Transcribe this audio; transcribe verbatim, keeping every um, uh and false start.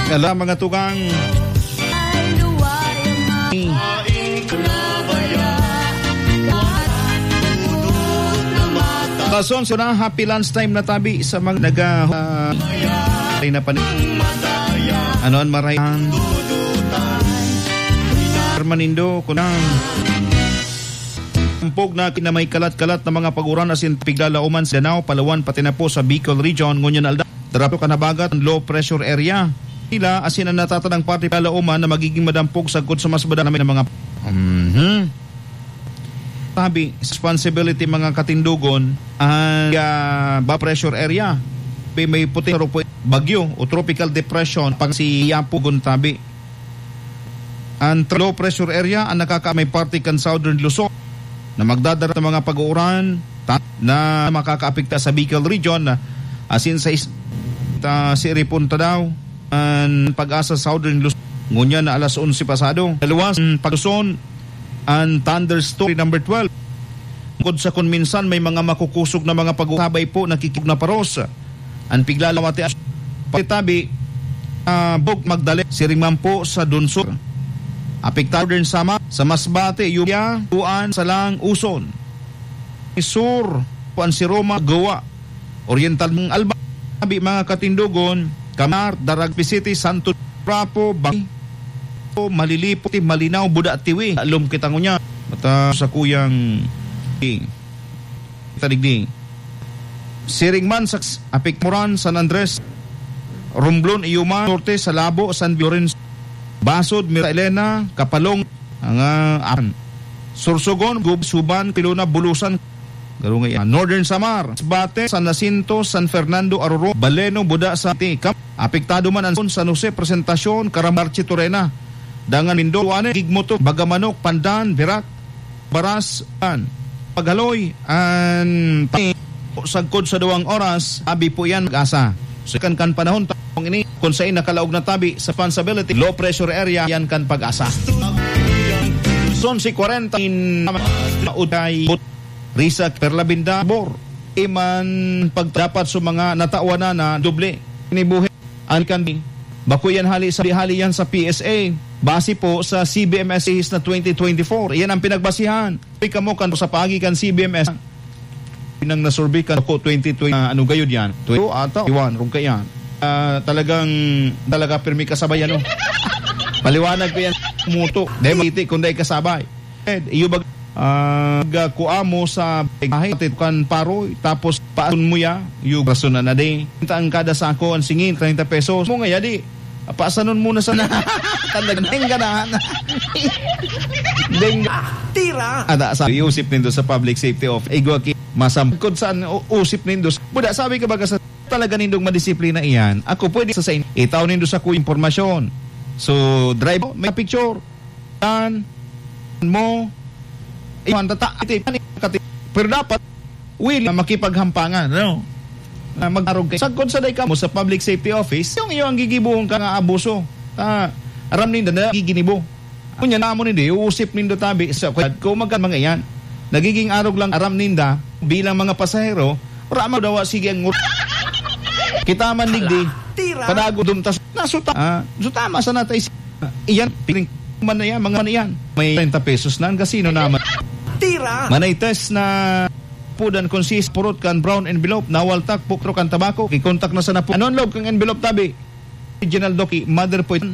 Ala, mga tugang. Kason, so na, happy lunch time na tabi sa mga naga-, ah, ay na pan-, ano, an maray-, Hermanindo, kunang dampog na kina may kalat-kalat na mga pag-uran asin piglalauman sa Danao, Palawan, pati na po sa Bicol Region, ngunyan aldaw. Darapo kan habagat an low pressure area. Nila asin an natatanang parte palauman na magiging madampog sagkod sa mas madalang na mga, mhm. Sabi, responsibility mga katindogon, ang, ah, ba pressure area. May, may puting tropo-, bagyo o tropical depression pag si Yapo Guntabi. Ang low pressure area ang nakakaamay parte kan Southern Luzon na magdadara ng mga pag-uuran ta-, na makakaapekta sa Bicol Region, asin sa is-, ta-, si Ripunta daw an Pag-asa Southern Luzon. Ngunyan na alas onse pasado. Naluwas ang Pag-Luzon, ang Thunder Story number twelve. Bukod sa kun minsan may mga makukusog na mga pag-usabay po, nakikig na paros. An piglalawati as-, pagtabi, ah, Bog Magdalena, siring man po sa Dunsur. Apektado din sa ma-, sa Masbate, Yubia, Tuan, Salang, Uson. Sur, Juan si Roma, Goa. Oriental ng Alba, abi mga katindogon, Kamar, Darag City, Santo Rapo, Bang-, Malilipo, Malinaw, Buda, Tiwi. Alom kita ngunyan. Mata sa kuyang, eh, tadigdi. Siring man sa Apikmuran, San Andres, Romblon, Iyuman, Norte, Salabo, San Lorenzo, Basod, Mira Elena, Kapalong, ang, ah, Apan. Sorsogon, Gub-, Suban, Pilona, Bulusan, Garunga, ah, Northern Samar, Bate, San Jacinto, San Fernando, Aroro, Baleno, Buda, Sante, Cam-, apektado man ang San Jose, Presentacion, Caramarchi, Torena, Dangan, Mindoro, Ane, Gigmoto, Bagamanok, Pandan, Virac, Baras, an paghaloy, an pa-, sagkod sa duwang oras, abi po yan, Pag-asa. So, kan, kan panahon ta-, kung ini, kung sa nakalaog na tabi sa responsibility, low pressure area, yan kan Pag-asa. Son si kwarenta in Uday, Risak, Perla Binda, Bor, iman pagdapat sa mga natawan na, na doble. Inibuhi. An kan, bako yan hali sa, hali yan sa P S A. Base po sa C B M S na twenty twenty-four. Iyan ang pinagbasihan. Uy, kamo kan sa paagi kan C B M S. Pinang nasurvey kan ako twenty twenty, ah, ano gayod yan? Twenty ata, iwan, rong ka yan. Ah, talagang, talaga pirmi kasabay, ano? Paliwanag ko yan, muto. Dahil maliti kung dahil kasabay. Eh, iyo bag-, ah, ga-, kua mo sa biyahe, kan paroy, tapos paason mo ya, iyo rason na na di. Ang kada sako, ang singin, treinta pesos. Mo nga, yadi, paasanon mo na sa, talagang ganahan. Deng-, Tira! Ada sa, iusip nindo sa public safety of, igwa ki, masam-, kung saan, u-, usip nindo. Buda, sabi ka baga sa, talaga nindong madisiplina iyan. Ako pwede sa, sa in-, itaw nindo sa kuya impormasyon. So, drive, may picture. Tan mo, iwan tata, iti, kati, pero dapat, will na makipaghampangan, no? Na mag-arog kay sagkod sa day ka mo sa public safety office, yung iyo ang gigibuhon ka nga abuso. Ah, aram ninda na giginibo. Kunya namo nindo, iuusip nindo tabi sa kung magka mga iyan. Nagiging arog lang aram ninda bilang mga pasahero, wala man daw, sige ang ngur-, kita man digdi, Tira! Panago dumtas, nasuta, ah, sutama sa natay si-, iyan, piling man na yan, mga man na yan. May treinta pesos na, ang kasino naman. Tira! Manay test na pudan kung si purot kan brown envelope, nawaltak, pukro kan tabako, kikontak na sa napu-, ano ang loob kang envelope, tabi? Original doki, mother po ito.